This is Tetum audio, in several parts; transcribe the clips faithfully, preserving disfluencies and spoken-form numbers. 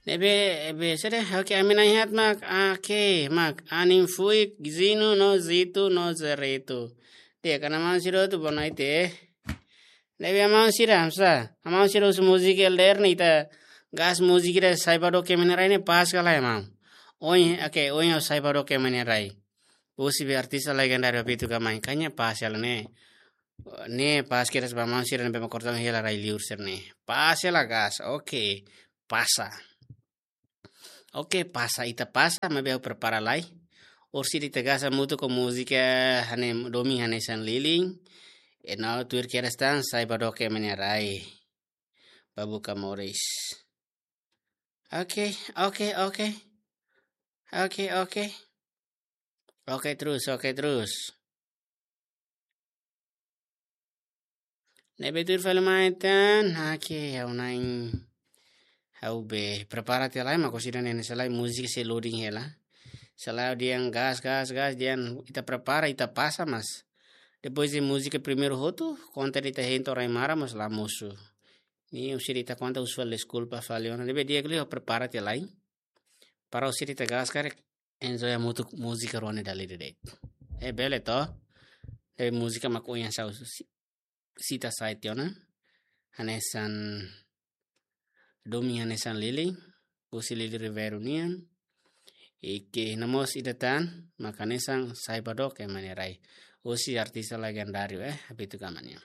Ne'ebé, be sede, oke, ami na'in-haat mak, oke, mak, anin fuik, Zinu, no Zitu, no Zeretu. Di'ak, maun sira hotu, boa noite. Ne'ebé maun sira, hamsa, maun sira husu múzika ida-ne'e ita gas múzika ida Sai ba Dook Ema nia Rai ne'e pas ka lae maun. Oin, oke, oin ha'u Sai ba Dook Ema nia Rai. Husi be artista legendáriu Papito Kamañu, kayaknya pas hela ne'e. Ne'e pas kedas ba maun sira ne'ebé mak kordon hela rai-liur sira-ne'e. Pas hela gas, oke. Pasa. Oke, pasa, ita pasa, maibé ha'u prepara lai. Orsida ita gas hamutuk ho múzika hanesan Domin Hanesan Lilin. E no tuir kedas tan Sai ba Dook Ema nia Rai. Ba buka moris. Oke, oke, oke. Oke, oke. Oke terus, oke terus. Ne'ebé tuir fali mai tan, oke, ha'u na'in, ha'u be prepara tiha lai, mak orsida ne'e selae múzika sei loading hela. Selae dehan gas, gas, gas, dehan ita prepara, ita pasa, mas depois de múzika primeiru hotu, konta ita hein to'o rai maran mós la mosu. Ne'e orsida ita konta usual, deskulpa fali ona. Ne'ebé di'ak liu prepara tiha lai. Para orsida ita gas karik enjoy hamutuk múzika rua ne'e dala ida de'it. E bele to. E múzika mak ohin ha'u si-, sita sai tiha ona. Hanesan Domin Hanesan Lilin, husi Lili Ribeiro nian. I ke no mós ida tan, mak hanesan Sai ba Dook Ema nia Rai. Husi artista legendáriu, eh, Papito Kamañu nian.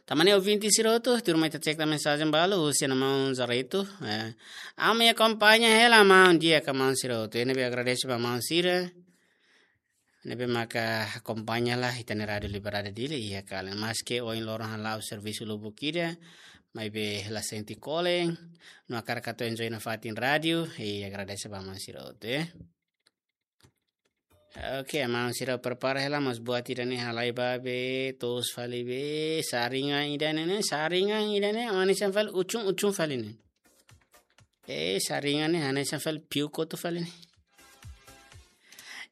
Tanba ne'e ouvinte sira hotu, tuirmai ita cek tan mensajen balu, husi maun Zaretu, eh, ami akompaña hela maun, di'ak maun sira hotu. Ne'ebé agradese ba maun sira ne'ebé maka akompaña lai ita-nia Rádiu Liberdade Dili iha kala. Maske ohin loron hala'o servisu lubuk ida, maibé la sente kolen, no hakarak atu enjoy nafatin rádiu, i agradese ba maun sira hotu, eh. Oke, maun sira prepara hela, mas buat ida-ne'e halai ba be, toos fali be, saringan ida-ne'e ne'e, saringan ida-ne'e, hanesan fali, uchun-uchun fali ne'e. Eh, saringan ne'e, hanesan fali, piu kotu fali ne'e.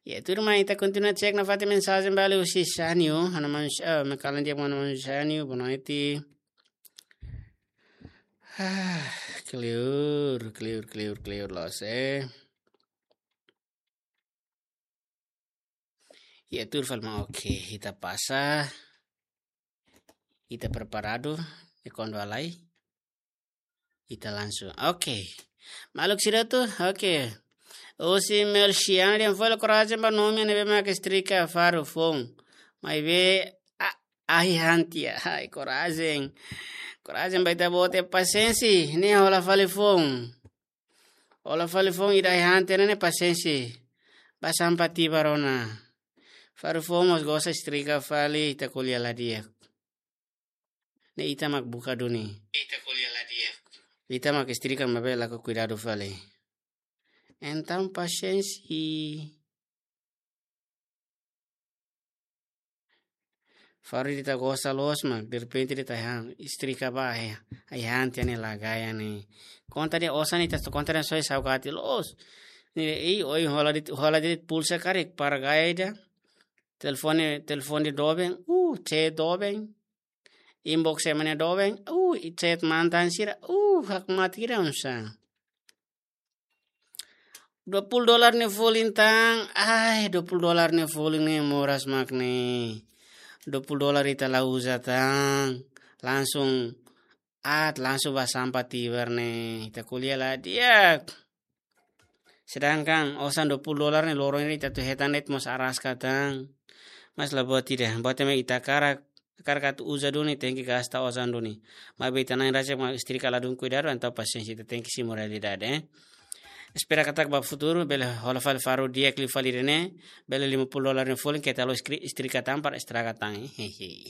Ya, tuirmai ita kontinua cek nafatin mensajen balu husi Sanio, ha'u-nia maun, eh, me kalan dia maun Sanio, boa noite. Ah, kleur, kleur, kleur, kleur, loos, eh. Ya, tuir fali mai, oke, ita pasa. Ita preparadu, e kuandu halai, ita langsung. Oke. Maluk sira hotu, oke. Husi Melchiane dehan fali korajen ba nome ne'ebé mak estrika faru foun. Maibé, a, ahi han tiha, ai, korajen. Korajen ba ita-boot, pasiénsia, ne'e hola fali foun. Hola fali foun ida ahi han tiha ne'e pasiénsia. Ba sampa tibar ona. Faru foun mós gosta estrika fali, ita ko'alia la di'ak. Ne'e ita mak buka duni. Ita ko'alia la di'ak. Ita mak estrika maibé la'o kuidadu fali. Entaun pasiénsia. Faru ida ita gosta loos mak, derrepente ida ita han, estrika ba, eh, ahi han tiha ne'e la gaya ne'e. Konta dehan osan ita, konta dehan soe saugati loos. Ne'e, ei, ohin hola de'it, hola de'it pulsa karik para gaya ida. Telefone, telefone doben, uh, chat doben. Inbox ema nia doben, uh, i chat mantan sira, uh, hakmatek ida oinsá. Dua puluh dolar nia folin tan, ai, dua puluh dolar nia folin ne'e moras mak ne'e. Dua puluh dolar ita la uza tan, langsung aat, langsung ba sampa tibar ne'e, ita ko'alia la di'ak. Sedangkan osan dua puluh dolar ne'e loron ida ita atu hetan de'it mós araska tan. Mas la buat ida, buat ema ita hakarak, hakarak atu uza duni, tenke gasta osan duni. Maibé ita na'in rasik mak estrika ladún kuidadu, entaun pasiénsia, ita tenke simu realidade, eh. Espera katak ba futuru, bele hola fali faru di'ak liu fali ida-ne'e, bele lima puluh dolar nia folin, keta halo eskri-, estrika tan para estraga tan, eh. Hehe.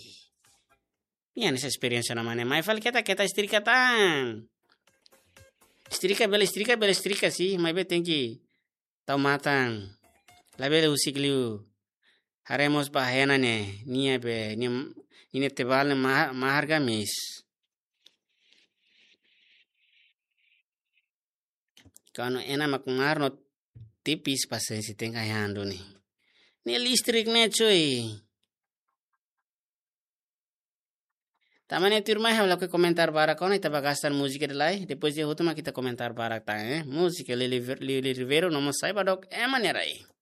Nia hanesan esperiénsia ona mak ne'e, mai fali keta, keta estrika tan. Estrika bele estrika, bele estrika sih, maibé tenke tau matan. Labele husik liu. Haree mós ba hena ne'e, nia be, nia, nia tebal ne'e ma-, mahar ka mis. Kuandu hena mak mahar no tipis pasiénsia, tenke ahi han duni. Ne'e listrik ne'e cuy. Tanba ne'e tuirmai ha'u lakohi komentar barak ona, ita ba gasta múzika ida lai, depois ita hotu mak ita komentar barak tan, eh. Múzika Lili Ver-, Lili Ribeiro, no mós Sai Ba Dook, Ema Nia Rai.